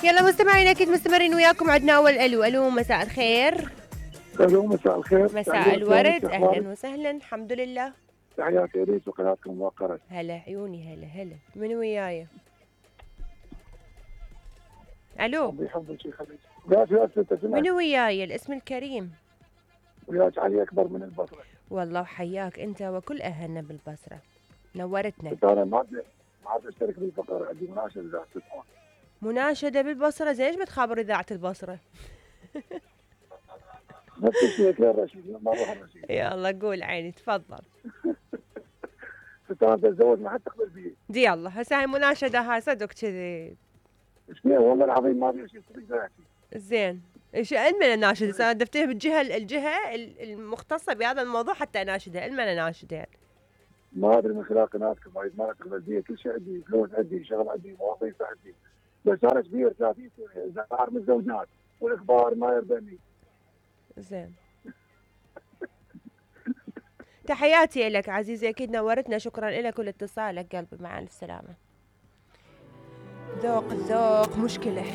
يلا مستمعين اكيد مستمرين وياكم. عندنا اول الو مساء الخير. الو مساء الخير. مساء الورد. اهلا وسهلا. الحمد لله. تحياتي ليك وقناتكم موقرة. هلا عيوني. هلا من وياي؟ الو ربي يحفظك ويخليك. وياك من وياي؟ الاسم الكريم. وياك علي اكبر من البصره. والله وحياك انت وكل اهلنا بالبصره، نورتنا. انا ما عاد اشترك بالفقره، عندي مناشده اذاعه التليفون. مناشده بالبصره؟ زين ايش بتخابر اذاعه البصره؟ نفس الشيء كل رشيد ما اروح الرشيد. يلا قول عيني تفضل. انا بتزوج ما حد تقبل بي. دي الله هسه هاي مناشده هاي صدق كذي. ايش فيها والله العظيم ما في شيء صدق ذاتي. زين ايش المن اناشده؟ انا دفتها بالجهه المختصه بهذا الموضوع حتى اناشدها. المن اناشدها ما ادري من خلال قناتكم وايد ما تقبل بي، كل شيء عندي، فلوس عندي، شغل عندي، مواظيف عندي، بس انا كبير 30 سنه زهار من الزوجات والاخبار ما يرضني. زين تحياتي لك عزيزي، اكيد نورتنا. شكرا لك ولاتصالك قلبي. مع الف سلامه. ذوق مشكله.